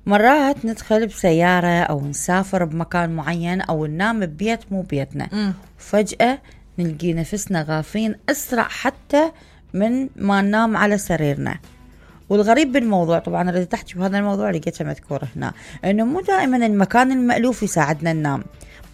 مرات ندخل بسيارة أو نسافر بمكان معين أو ننام ببيت مو بيتنا، وفجأة نلقي نفسنا غافين أسرع حتى من ما ننام على سريرنا. والغريب بالموضوع، طبعا أنا تحكي بهذا الموضوع لقيتها مذكور هنا، إنه مو دائما المكان المألوف يساعدنا ننام.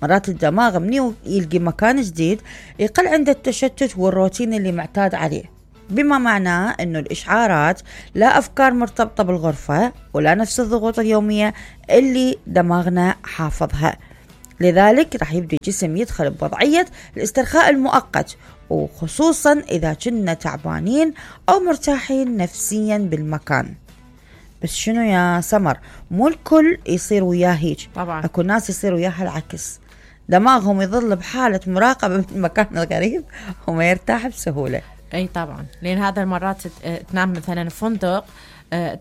مرات الدماغ مني يلقي مكان جديد يقل عنده التشتت والروتين اللي معتاد عليه، بما معناه إنه الإشعارات لا أفكار مرتبطة بالغرفة ولا نفس الضغوط اليومية اللي دماغنا حافظها. لذلك راح يبدأ الجسم يدخل بوضعية الاسترخاء المؤقت، وخصوصا إذا كنا تعبانين أو مرتاحين نفسيا بالمكان. بس شنو يا سمر، مو الكل يصير وياه هيك، طبعا أكو ناس يصير وياها العكس، دماغهم يظل بحالة مراقبة من المكان الغريب وما يرتاح بسهولة. اي طبعا، لان هذا المرات تنام مثلا فندق،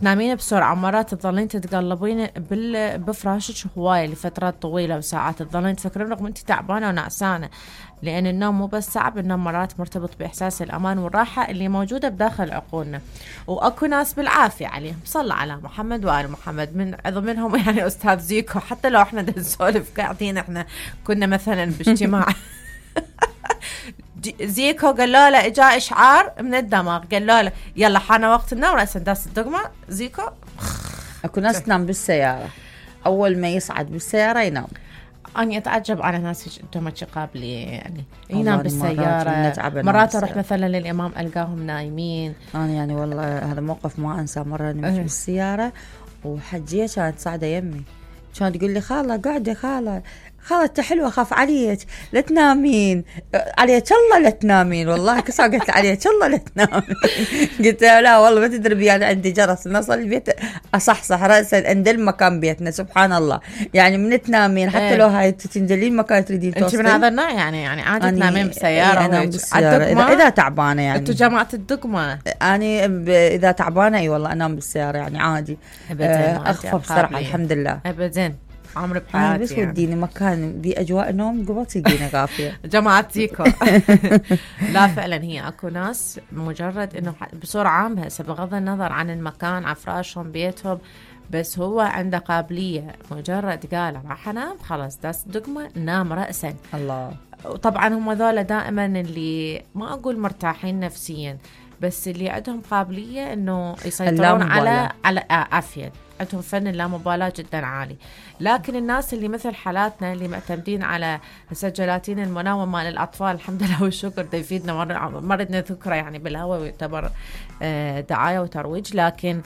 تنامين بسرعة، مرات تظلين تتقلبين بفراشك هواية لفترات طويلة وساعات، تظلين تفكرين رغم انت تعبانة ونعسانة، لأن النوم مو بس صعب، النوم مرات مرتبط بإحساس الأمان والراحة اللي موجودة بداخل عقولنا. وأكو ناس بالعافية عليهم، صلى على محمد وآل محمد، من منهم يعني أستاذ زيكو، حتى لو احنا نسولف قاعدين، احنا كنا مثلا باجتماع زيكو قال له اجا اشعار من الدماغ، قال له يلا حان وقت النوم، رأسا داس الدقمة زيكو. اكو ناس تنام بالسيارة، اول ما يصعد بالسيارة ينام. أنا أتعجب على ناس انتم قابلي يعني ينام بالسيارة. مرات أروح مثلا للإمام ألقاهم نايمين. أنا يعني والله هذا موقف ما أنسى. مرة نمشي بالسيارة وحجية كانت صاعدة يمي، كانت تقول لي خالة قاعدة، خالة انت حلوة، خاف عليك لا تنامين، عليك الله لا تنامين. والله كسا قلت عليك الله لا تنامين. قلت لا والله ما تدري بي، أنا عندي جرس نصل البيت أصحصح رأسا أندل مكان بيتنا، سبحان الله. يعني من تنامين حتى لو هاي تنزلين مكان تريدين توصلين. أنت من هذا النوع يعني عادي تنامين بسيارة؟ أنا بالسيارة إذا تعبانة يعني. أنتوا جماعة الدقمة. أنا إذا تعبانة أي والله أنام بالسيارة يعني عادي. أخفف صراحة الحمد لله. أبداً عمري بحياتي بس وديني مكان بأجواء نوم قبل تجينا غافية. جماعة زيكو. لا فعلا هي أكو ناس مجرد إنه بصورة عامة بغض النظر عن المكان، عن فراشهم بيتهم، بس هو عنده قابلية مجرد قال راح أنام خلاص داس دقمة نام رأسا. الله. وطبعا هم ذولا دائما اللي ما أقول مرتاحين نفسيا، بس اللي عندهم قابلية إنه يسيطرون على عافية، عندهم فن اللامبالاة جدا عالي. لكن الناس اللي مثل حالاتنا اللي معتمدين على جلاتين المنوم مال الأطفال، الحمد لله والشكر ده يفيدنا، مرضنا ذكره يعني بالهواء ويعتبر دعاية وترويج، لكن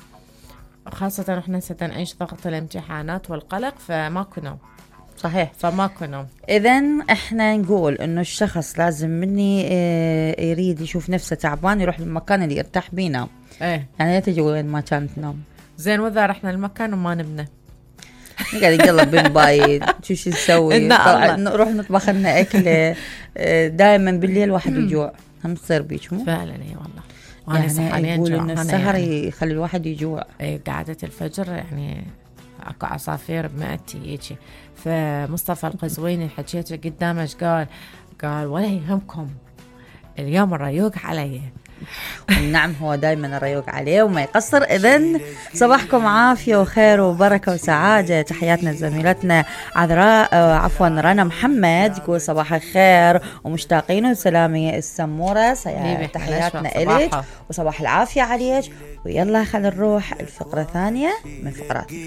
خاصة احنا ستنعيش ضغط الامتحانات والقلق فماكو نوم. صحيح، فماكو نوم. إذن احنا نقول إنه الشخص لازم مني يريد يشوف نفسه تعبان يروح للمكان اللي يرتاح بينا. يعني لا تجي وين ما كانت نوم. زين وإذا رحنا المكان وما نبنى قاعد يقلب بالبايد شو نسوي؟ نروح نطبخ لنا أكلة. دائما بالليل واحد يجوع، هم تصير بيك مو؟ فعلا اي والله. يعني يقول إن السهر يعني يخلي الواحد يجوع. قعدة الفجر يعني اكو عصافير بمعدتي هيجي. فمصطفى القزويني حكيته قدامه قال ولا يهمكم اليوم الريوق علي. نعم هو دايما الريوق عليه وما يقصر. إذن صباحكم عافية وخير وبركة وسعادة. تحياتنا لزميلتنا رنا محمد تقول صباح الخير ومشتاقين وسلامي السمورة. تحياتنا إليك وصباح العافية عليك. ويلا خلينا نروح الفقرة الثانية من فقراتنا.